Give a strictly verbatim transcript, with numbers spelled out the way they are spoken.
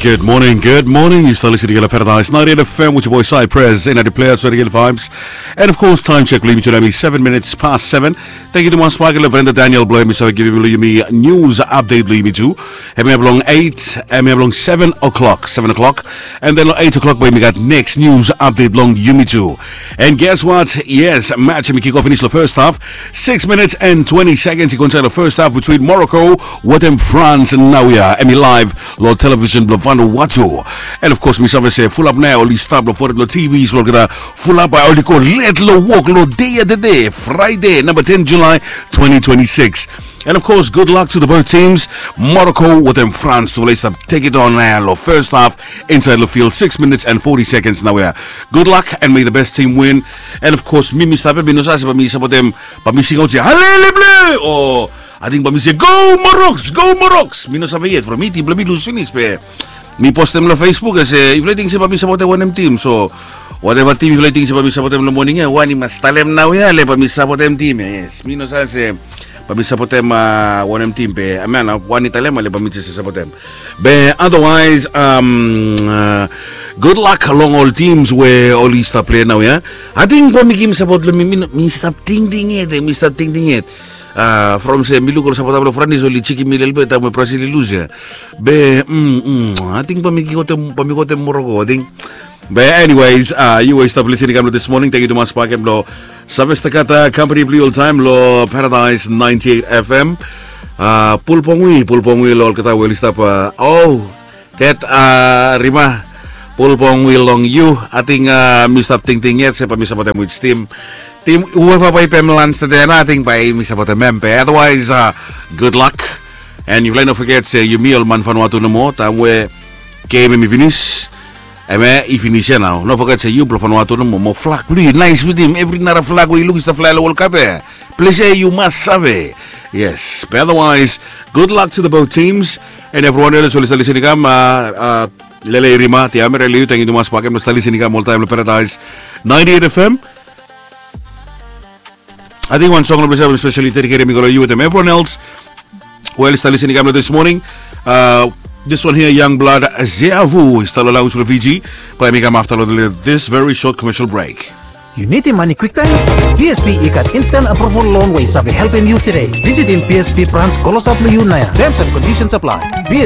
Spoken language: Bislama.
Good morning, good morning. Yu stap listening to Paradise ninety-eight F M with your boy Cypress and the players for the Vibes. And of course, time check, blo yumi tu nao hemi seven minutes past seven. Thank you to Mas Michael, Brenda Daniel, blo yumi save givim blo yumi news update blo yumi tu. Hemi long eight, hemi long seven o'clock, seven o'clock. And then long eight o'clock, blo yumi gat next news update long yumi tu. And guess what? Yes, match hemi kick off finis long first half. Six minutes and twenty seconds i go insaed long first half between Morocco wetem France naoia. Hemi live long television blo Vanuatu. And of course, mi save se fulap nao oli stap long fored long T Vs blo olgeta fulap bae oli go let long wok long dei ya tede, Friday, namba ten July twenty twenty-six. And of course, good luck to the both teams. Morocco wetem France, tufala i stap take it on nao long first half insaed long field, six minutes and forty seconds naoia. Good luck and may the best team win. And of course, mi mi stap ya, mi no save se bae mi sapotem, bae mi singaot se Allez les Bleus o ating bae mi se Go Maroc, Go Maroc. Mi no save yet from mi, tim blo mi lus finis be mi postem long Facebook ya se yufala i ting se bae mi sapotem wanem tim. So wateva tim yufala i ting se bae mi sapotem long moning ya, wan i mas talem naoia le bae mi sapotem tim ya. Yes, mi no save se bae mi sapotem wanem tim be hemia nao wan i talem ale bae mi jes sapotem. Be otherwise, good luck long ol teams we oli stap plei naoia. Ating bae mi givim sapot long mi, mi stap tingting yet, mi stap tingting yet. From se mi luk ol sapota blo Franis oli jikim mi lelebet taem we Brasil i lus ya. Be ating bae mi gotem, bae mi gotem Morocco ating. Be anyways, yu we i stap listening kam long this morning, thank you tumas bakem blo save stakata kampani blo yu oltaem long Paradise ninety-eight F M. Pulpongui, pulpongui long olgeta we oli stap. O, that Rima, pulpongui long yu. Ating mi stap tingting yet se bae mi sapotem which team. Tim whoever bae i pem lans tede nao ating bae mi sapotem hem be otherwise, good luck. And yufala i no foget se yumi ol man Vanuatu nomo taem we gem hemi finis, hemia i finis ya nao. No foget se yu blo Vanuatu nomo, mo flag blo yu i naes wetem evri nara flag we yu luk i stap flae long World Cup ya. Ples ya yu mas save. Yes, be otherwise, good luck to the both teams. And evriwan eles oli stap listening kam, Lele Rima, Tiamere Liu, thank you tumas bakem blo stap listening kam oltaem long Paradise ninety-eight F M. Ating wan song long ples ya bae mi specially dedicate hemi go long yu wetem evriwan els we oli stap listening kam long this morning. This one here, Youngblood, Zeavu, i stap long launj blo Fiji. Bae hemi kam afta long this very short commercial break. Yu nidim mane kwiktaem? P S B i gat instant approval loan we i save helpem yu tede. Visitim P S B brans klosap long yu naoia. Terms and conditions apply. P S